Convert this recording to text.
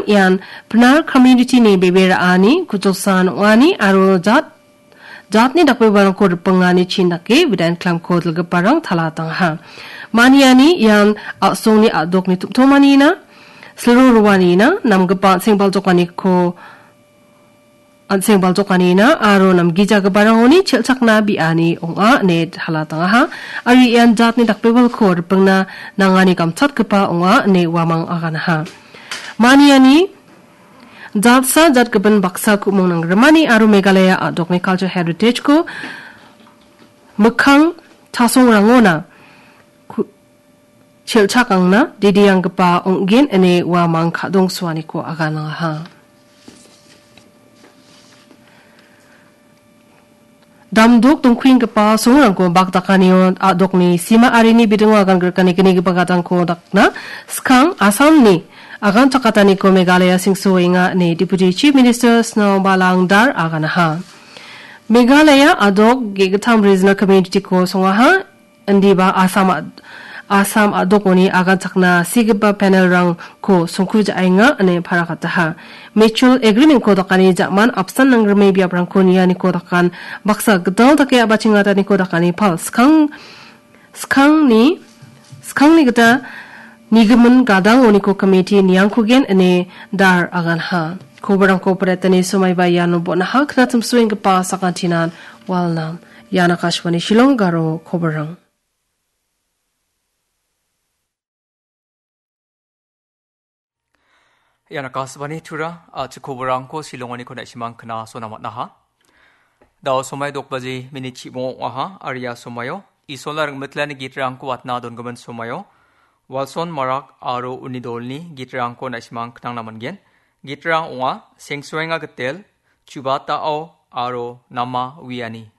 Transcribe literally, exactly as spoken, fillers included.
Ian pinar community-ni bebe ra·ani, kuchilsan ong·ani aro jat, jatni dakbebarangko ripengani chin dake bidang klamko dilgiparang talatangaha. Maniani ian a·songni a·dokni tumtomanina, silro roanina, namgipa an·seng baljokaniko an·seng baljokanina aro namgijagiparangoni chelchakna bi·ani ong·a ine talatangaha. Aro ian jatni dakbebalko ripengna nangani gamchatgipa ong·a ine uamang aganaha. Maniani jatsa jatgimin baksa ku·mung nanggrimani aro Meghalaya a·dokni culture heritage-ko mikkang chasongrangona ku-, chelchakangna didianggipa ong·gen ine uamang ka·dongsoaniko aganangaha. Damdok dongkuenggipa songrangko bakdakanio a·dokni sima arini bidingo agan grikani gnigipa gadangko dakna skang Assamni agan chakataniko Meghalaya sengsoenga ine Deputy Chief Minister Snowbhalang Dhar aganaha. Meghalaya a·dok ge·gittam regional community-ko songaha. Indiba Assam a-, Assam a·dokoni aganchakna sigipa panel-rangko songkujaenga ine parakataha. Mutual agreement-ko dakani ja·man apsan nangrime biaprangko nianiko dakan baksa gital dake a·bachengataniko dakani pal skang, skangni, skangni gita nigimin gadang oniko committee niangkogen ine Dhar aganha. Koborangko paretani somaiba iano bon·aha knatimsoenggipa sakantinan walnam. Ian Akashvani Shillong Garo koborang. Ian Akashvani Tura, a, chikoborangko Shillongoniko na·simang kna sona man·aha. Dao somai dok baji minit chibongo ong·aha, aria somaio Isolna ringmitlani gitrangko watna dongimin somaio Walson Marak aro uni dolni gitrangko na·simang knangna man·gen. Gitrang ong·a Sengsoenga Gitel, Chubatao aro Nama Wiani.